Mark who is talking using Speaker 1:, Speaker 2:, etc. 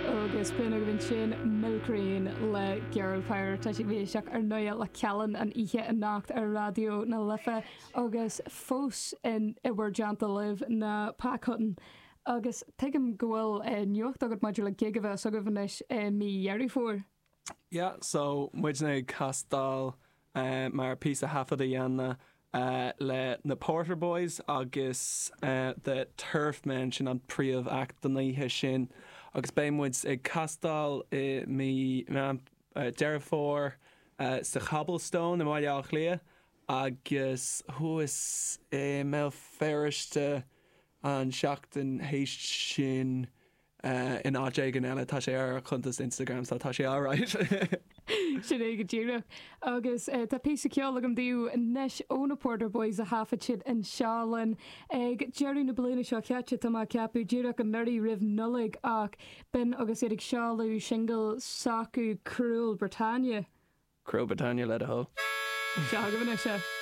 Speaker 1: Agus b'in agaibh ansin Milk Rain le Girl Power. Tá sibh ag éisteacht ar ndóigh le Callan an oíche anocht ar Raidió na Life agus fós in i bhur dteannta libh ná Pac Hutton. Agus tuigim go bhfuil nuacht agat maidir le gig a bheas agaibh anois i mí Dheireadh Fómhair.
Speaker 2: Yeah, so muidne ag castáil mar píosa thaifead a dhéanamh le na Porter Boys agus The Turf Men, sin an príomh act don oíche sin agus beidh muid ag castáil i mí Meán Deireadh Fómhair sa Cobblestone i mBaile Átha Cliath agus thuas i mBéal Feirste an seachtain théis sin in áit éigin eile. Tá sé ar ár cuntas Instagram so tá sé alright.
Speaker 1: Sin é go díreach. Agus tá píosa ceoil agam daoibh anois ó na Porter Boys a thaifead siad anseo linn ag deireadh na bliana seo chaite, tá mé ag ceapadh, díreach anuraidh roimh Nollaig ach b'in agus iad ag seoladh singil s'acu Cruel Britannia.
Speaker 2: Cruel Britannia le do thoil.
Speaker 1: Seo agaibh anois é.